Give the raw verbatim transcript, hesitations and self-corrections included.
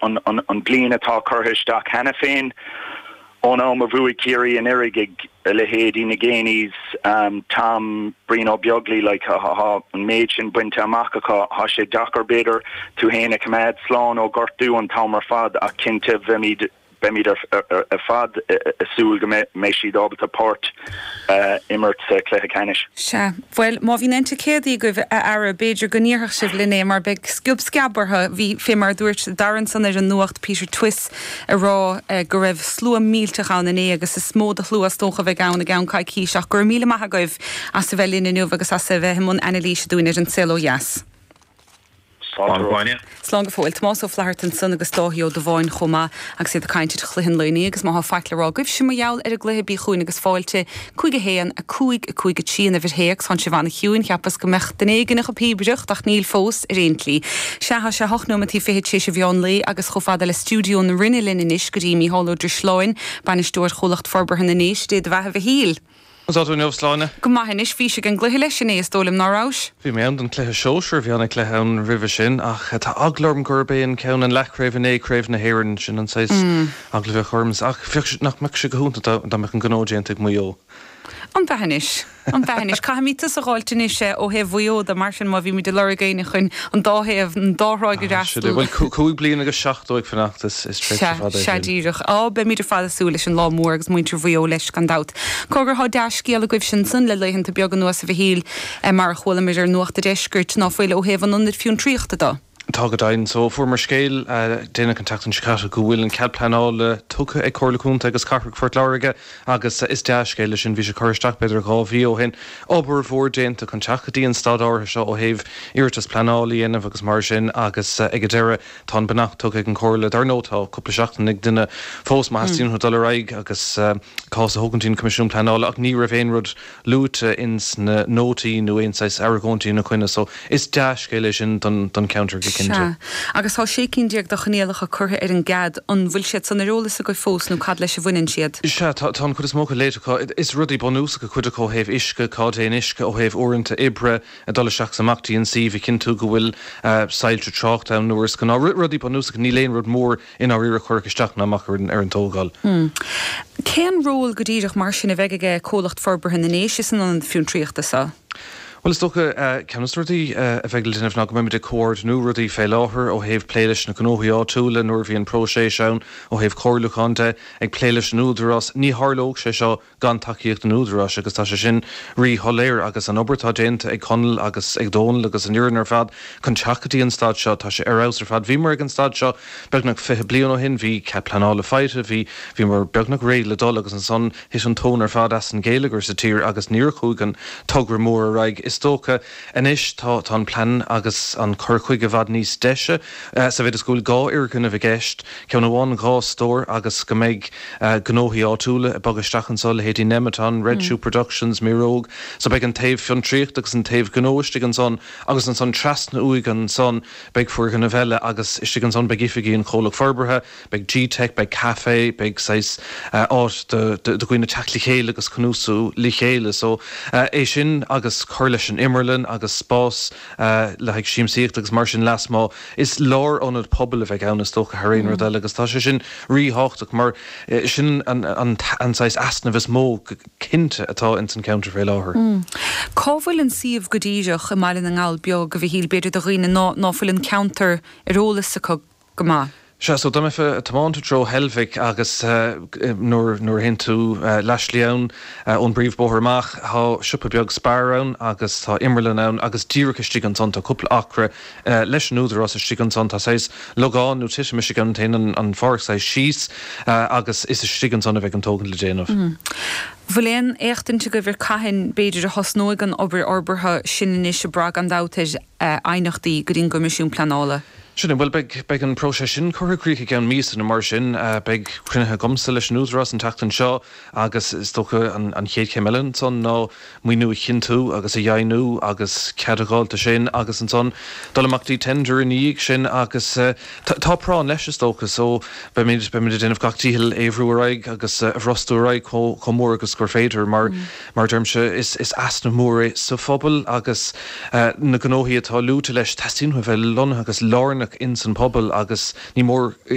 an, an, an bliain atá curtha isteach cheana féin ón am a bhuaigh Ciarraí anuraidh ag leithéidí na Geaneys um, Tom Brian Ó Beaglaoich like, ha, an méid sin bainte amach acu tá sé deacair b'fhéidir tú féin a choimeád slán ó ghortú an t-am ar fad ach cinnte beimid beimid ar fad ag súil go mbeidh siad ábalta páirt imirt sa cluiche ceannais. Sea, Bhuel má bhíonn ticéadaí agaibh a fheara b'fhéidir go ndéarfadh sibh linn é mar beidh sciob sceabartha bhí fé mar dúirt Darren san ar an nuacht Peter Twiss ag rá go raibh slua millteach ann inné agus is mó de shlua is dócha bheidh ann i gceann coicíse ach gur míle maith agaibh as a bheith linn inniu agus as a bheith mun anailís dúinn ar an saol ó dheas. Slán go fóill Tomás Ó Flatharta ansan agus Dáithí Ó Dubháin chomh maith agus iad ag caint ar chluiche an lae inniu agus má tá faic le rá agaibh sin mar gheall ar an gcluiche bí chugainn agus fáilte cúig a haon a cúig a cúig a trí an uimhir théacs tá sibh an-chiúin cheapas go mbeadh duine éigin ag píobaireacht ach níl fós ar aon tslí. Sea tá sé hocht nóiméad fiche tar éis an mheán lae agus chomh fada le stiúideo na Rinne linn anois go dtí Mícheál Ó Drisleáin, bainisteoir Chomhlacht Forbartha na nDéise Dé do bheatha a Mhichíl. Tá tú sláine? Go maith anois bhí ag an gcluiche leis inné is dóigh liom nach raibh? Bhí mé ann don cluiche sóisir bhí an cluiche ann roimhe sin ach tá eagla orm gurb é an ceann an leathchraobh inné craobh na hÉireann sin an saghas eagla a bheadh orm ach bheadh nach mbeadh sé go hiontach dá mbeadh an gnó déanta ag Maigh Eo. An bhenis an bhenis Caithfimid tusa a fháilt anois ó thaobh Mhaigh Eo de mar sin má bhí muid ag lorg éinne chun an dá thaobh an dá thráigh Bhuel cúig bliana agus seachtó ag fanacht is Sea díreach á beimid ar fad ag súil leis an lá mór agus muintir Mhaigh Eo leis gan dabht. Cogar tá dea-scéal agaibh sin san le laethanta beaga anuas a Mhichíl mar a chualamar ar Nuacht an Deiscirt ná fuil ó thaobh an ionad fiontraíochta de. Tá go deimhin so fuaireamar scéal déanach an tseachtain seo caite go bhfuil an cead pleanála tugtha ag Comhairle Contae agus Cathrach Phort Láirge agus is dea-scéal é sin bhí sé curtha isteach b'fhéidir dhá mhí ó shin obair mhór déanta chun teacht go dtí an staid áirithe seo ó thaobh iarratas pleanála a dhéanamh agus mar sin agus ag an deireadh tá an beannacht tugtha ag an Chomhairle dar ndóigh tá cúpla seachtain ag duine fós má theastaíonn dul ar aghaidh agus cás a thógaint an Coimisiún Pleanála ach ní raibh aon rud luaite ins na nótaí nó aon saghas argóintí ina choinne so is dea-scéal é sin don don ceantar go cinnte. Agus tá sé cinn déag de choinníollacha curtha ar an gcead an bhfuil siad san ar eolas agaibh fós nó cad leis a bhaineann siad. Sea tá an chuid is mó léite is rudaí bunúsacha cuid acu ó thaobh uisce cad é uisce ó thaobh uaireanta oibre a dul isteach amach an suíomh a chinntiú go bhfuil soilse tráchta ann nuair is gá rudaí bunúsacha níl aon rud mór in áirithe chur isteach ná amach ar ar an tógáil. Hmm. Cén ról go díreach mar sin a bheidh aige Comhlacht Forbartha na nDéise san ionad fiontraíochta seo? Well is dócha ceann de na rudaí a bheidh le déanamh ná go mbeimid ag comhordú rudaí fé láthair ó thaobh plé leis na gnóthaí áitiúla nuair a bhí an próiseas ann ó thaobh comhairliúchán de ag plé leis an údarás ní tharlódh sé seo gan tacaíocht an údaráis agus tá sé sin ríshoiléir agus an obair atá déanta ag Conall agus ag Dónal agus an fhoireann ar fad chun teacht go dtí an staid seo tá sé ar fheabhas ar fad. Bhíomar ag an staid seo beagnach fiche bliain ó shin bhí cead pleanála faighte bhí bhíomar beagnach réidh le dul agus ansan thit an tóin ar fad as an gheilleagar sa tír agus níor chuaigh an togra mór ar aghaidh. Is dócha anois tá tá an plean agus an cur chuige i bhfad níos deise sa mhéid is go bhfuil dhá fhoirgneamh i gceist, ceann amháin dhá stór agus go mbeidh gnóthaí áitiúla ag bogadh isteach anseo leithéidí Nemeton, Red Shoe Productions, Miróg, so beidh an taobh fiontraíocht agus an taobh gnó istigh ansan agus ansan trasna uaidh ansan beidh foirgneamh eile agus istigh ansan beidh oifigí an chomhlacht forbartha, beidh G-Tech, beidh café, beidh saghas áit do dhaoine teacht le chéile agus cnuasú le chéile. So é sin agus cur leis an imearlann agus spás le haghaidh siamsaíocht agus mar sin lasmuigh is lárionad pobail a bheidh ann is dócha thar aon rud eile agus tá sé sin ríthábhachtach mar sin an an an saghas easnamh is mó cinnte atá ins an ceantar fé láthair. Cá bhfuil an suíomh go díreach i mBaile na nGall Beag a Mhichíl b'fhéidir do dhaoine ná ná fuil an ceantar ar eolas acu go maith. Sea so dá mbeifeá ag tiomáint i dtreo Heilbhic agus nuair nuair a théann tú leathshlí ann ón bpríomhbóthar amach tá siopa beag Spar ann agus tá imearlann ann agus díreach istigh ansan tá cúpla acra leis an údarás istigh ansan tá saghas logán nó titim istigh ann téann an an pháirc saghas síos agus is istigh ansan a bheidh an tógaint le déanamh. Bhfuil aon éachtaint agaibh ar cathain b'fhéidir a thosnóidh an obair fhorbartha sin anois ag brath gan dabht ar aighneachtaí go dtí an gCoimisiún Pleanála? Sin é, bhuel beidh beidh an próiseas sin curtha i gcrích i gceann míosa nó mar sin. Beidh cruinnithe agamsa leis an údarás an tseachtain seo agus is dócha an an chéad chéim eile ansan ná maoiniú a chinntiú agus a dheimhniú agus cead a fháil dó sin agus ansan dul amach dtí tender ina dhiaidh sin agus tá práinn leis is dócha so beimid beimid ag déanamh gach dícheall é a bhrú ar aghaidh agus a bhrostú ar aghaidh chomh chomh mór agus gur féidir mar mar deirimse is is easnamh mór é sa phobal agus na gnóthaí atá luaite leis teastaíonn uathu a bheith lonnaithe agus lárnach lárnach in san pobal agus ní mór